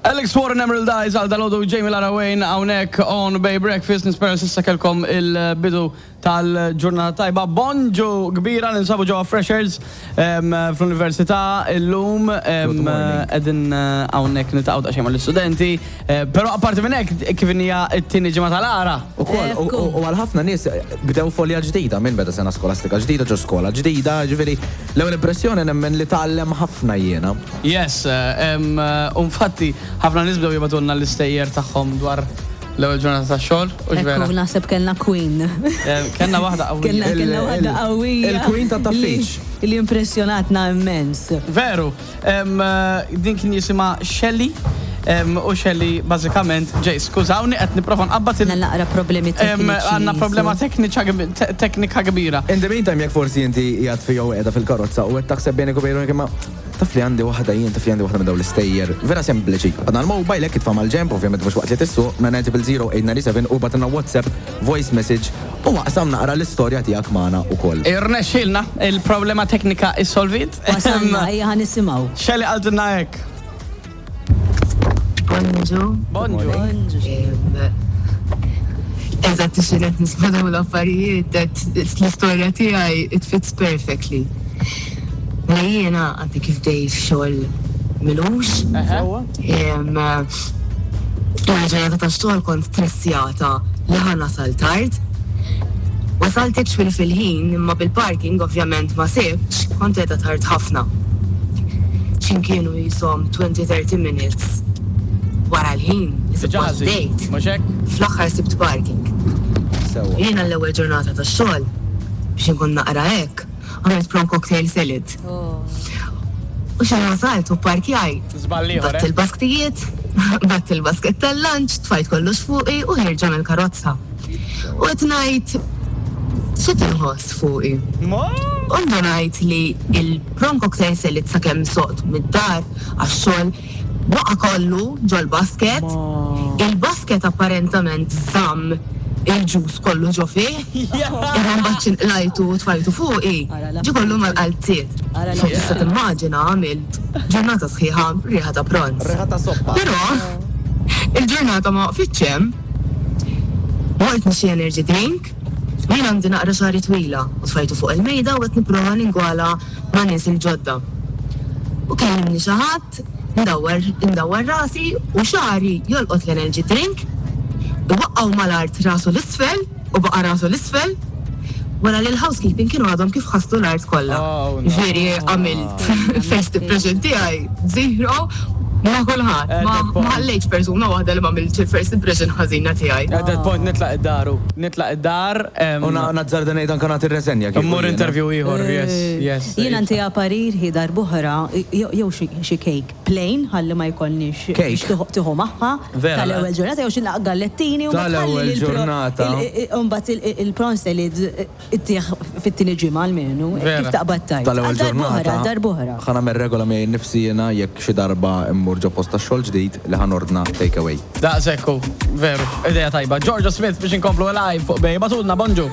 Alex Warren Emerald Eyes għal dalodu Jamie Lara Wayne hawnhekk on Bay Breakfast nispera s'issa kellkom il-bidu tal-ġurnata tajba. Bonġu kbira ninsabu ġewwa Freshers fl-Università illum qegħdin hawnhekk niltaqgħu daqsxejn mal-istudenti. Però apparti minn hekk kif hija t-tieni ġimgħa tal-għara. Ukoll, u għal ħafna nies bdew folja ġdida minn beda sena skolastika ġdida ġo skola ġdida, ġifieri l-ewwel impressjoni nemmen li tgħallem ħafna jiena. Yes, u infatti ħafna nies bdew jibgħatulna l-istejjer tagħhom dwar l-ewwel ġurnata tax-xogħol, hux vera? Ekku, naħseb kellna queen. Kellna waħda qawwija. Kellna waħda qawwija. Il-queen tat-taffiċ. Li impressjonatna immens. Veru. Din kien jisimha Shelly. U Shelly bażikament, ġej, skużawni qed nipprova nqabbad il. Għandna naqra problemi tekniċi. Għandna problema teknika kbira. In the meantime, jekk forsi inti qiegħed fi jew qiegħda fil-karozza u qed taħseb bejnek u bejn ruħek imma Taf li għandi waħda jien, taf li għandi waħda minn dawn l-istejjer. Vera sempliċi. Għadna l-mobile hekk itfa' mal-ġenb, ovvjament mhux waqt li tissuq, 9000897 u bagħtilna WhatsApp voice message u aqsam naqra l-istorja tiegħek magħna wkoll. Irnexxielna, il-problema teknika issolviet. Wasalna, ejja ħa nisimgħu. Shelly qaltilna hekk. Bonġu. Bonġu. Bonġu. Eżatt xi qed nisma' dawn l-affarijiet, l-istorja tiegħi it fits perfectly. Mela jiena għadni kif bdejt xogħol m'ilux. L-ewwel ġurnata ta' xogħol kont stressjata li ħa nasal tard. Wasalt actually fil-ħin imma bil-parking ovvjament ma sibtx, kont qiegħda tard ħafna. X'imkienu qishom 20, 30 minutes wara l-ħin li suppost bdejt, fl-aħħar sibt parking. Jiena l-ewwel ġurnata ta' xogħol biex inkun naqra hekk, Għamilt prawn cocktail salad. U xejn wasalt u pparkjajt. Batt il-basktijiet, batt il-basket tal-lunch, tfajt kollox fuqi u ħerġa mill-karozza. U qed ngħid x'qed inħoss fuqi. U ndunajt li il-prawn cocktail salad sakemm soqt mid-dar għax-xogħol Waqa' kollu ġol-basket. Il-basket apparentament żamm il-ġus kollu ġo fih, imma mbagħad xi nqlajtu u tfajtu fuqi, ġie kollu mal-qalziet. So tista' timmaġina għamilt ġurnata sħiħa riħa ta' prawns. Però il-ġurnata ma waqfitx hemm. Mort nixtri energy drink, jien għandi naqra xagħri twila u tfajtu fuq il-mejda u qed nipprova ningwala ma' nies il-ġodda. U kellimni xi ħadd, ndawwar indawwar rasi u xagħri jolqot l-energy drink, iwaqqgħu mal-art rasu 'l isfel u baqa' rasu 'l isfel, wara li l-housekeeping kienu għadhom kif ħaslu l-art kollha. Ġifieri għamilt first impression tiegħi zero ma' kulħadd. Ma ħallejtx persuna waħda li m'għamiltx il-first impression ħażina tiegħi. At that point nitlaq id-dar u nitlaq id-dar. U nazzarda ngħid anke nagħti r-reżenja kieku. Immur interview ieħor, yes, yes. Jiena ntiha parir hi darb'oħra jew xi cake plain ħalli ma jkollniex biex tieħu magħha tal-ewwel ġurnata jew xi gallettini u mbagħad ħalli ġurnata. U mbagħad il-prawn salad ittih fit-tieni ġimgħa almenu. Kif taqbad tgħid. Tal-ewwel ġurnata. Darb'oħra. Ħa nagħmel regola miegħi nnifsi jiena jekk xi darba mmur ġo post tax-xogħol ġdid li ħa nordna take away. Daqshekk hu, veru, idea tajba. Georgia Smith biex inkomplu live fuq Bay. Ibagħtulna, bonġu.